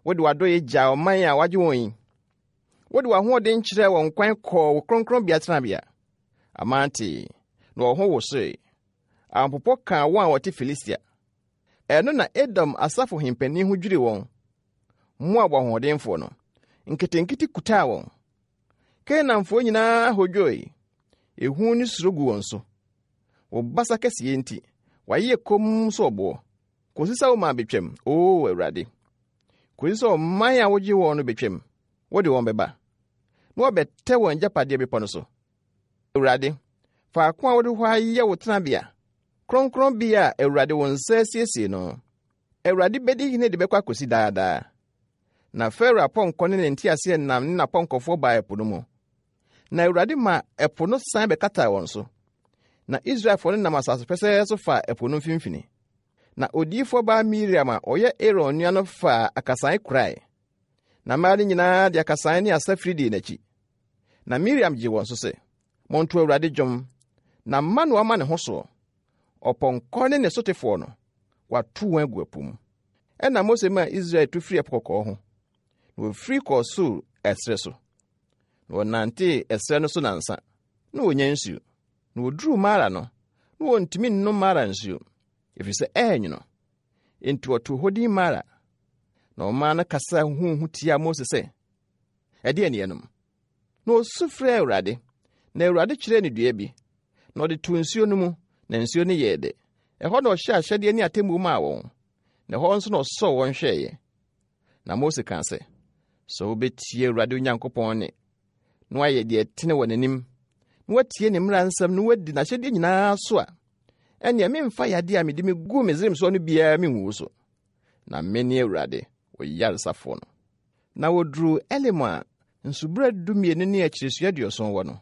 Wode w'adɔeɛ gyaa ɔman a wagye wɔn yi. Wode w'ahoɔden kyerɛɛ wɔn kwan kɔɔ wo kronkronbea tenabea. Aman tee, na wɔn ho wosoe. Ahopopo kaa wɔn a wɔte Filistia. Ɛno na Edom asafohempanin ho dwirii wɔn. Moab ahoɔdenfoɔ no, nketenkete kutaa wɔn. Kanaanfoɔ nyinaa hodwoe. Ehu ne suro gu wɔn so. Wo basa kɛseɛ nti, wɔayeyɛ komm sɛ ɔboɔ. Kɔsi sɛ wo man betwam, O Awurade. Kɔsi sɛ ɔman a wogye wɔn no betwam, wode wɔn bɛba, na wɔabɛtɛ wɔn agyapadeɛ bepɔ no so. Awurade, faako a wode hɔ ayɛ wo tenabea, kronkronbea a Awurade wo nsa asiesie no. Awurade bɛdi hene de bɛkɔ akɔsi daa daa. Na Farao apɔnkɔ ne ne nteaseɛnam ne n'apɔnkɔfoɔ baa ɛpo no mu. Na Awurade ma ɛpo no san bɛkataa wɔn so. Na Israelfoɔ no nam asase pɛsɛɛ so faa ɛpo no mfimfini. Na odiyifoɔ baa Miriam a ɔyɛ Aaron nua no faa akasae kurae. Na mmaa no nyinaa de akasae ne asafiri dii n'akyi. Na Miriam gyee wɔn so sɛ, Monto Awurade dwom, na mma no ama ne ho soɔ. Ɔpɔnkɔ ne ne sotefoɔ no, wato wɔn agu ɛpo mu. Ɛnna Mose maa Israel tu firii Ɛpo Kɔkɔɔ ho, na wɔfiri kɔɔ Sur ɛserɛ so. Na wɔnantee ɛserɛ no so nnansa, na wɔnnya nsuo. Na wɔduruu Mara no, na wɔntumi nnom Mara nsuo, ɛfiri sɛ ɛyɛ nwono. Enti wɔtoo hɔ din Mara. Na ɔman no kasaa huhuuhu tiaa Mose sɛ, Ɛdeɛn ne yɛnom? Na ɔsu frɛɛ Awurade, na Awurade kyerɛɛ no dua bi, na ɔde too nsuo no mu, na nsuo no yɛɛ dɛ. Ɛhɔ na ɔhyɛɛ ahyɛdeɛ ne atemmuo maa wɔn, na ɛhɔ nso na ɔsɔɔ wɔn hwɛeɛ. Na Mose kaa sɛ, Sɛ wobɛtie Awurade Onyankopɔn nne, na woayɛ deɛ ɛtene wɔ n'anim, na woatie ne mmara nsɛm na woadi n'ahyɛdeɛ nyinaa so a, ɛnneɛ memfa yadeɛ a mede meguu Misraim soɔ no biara mengu wo so. Na mene Awurade, wo yaresafoɔ no. Na wɔduruu Elim a nsubura 12 ne akyiresua 70 wɔ no.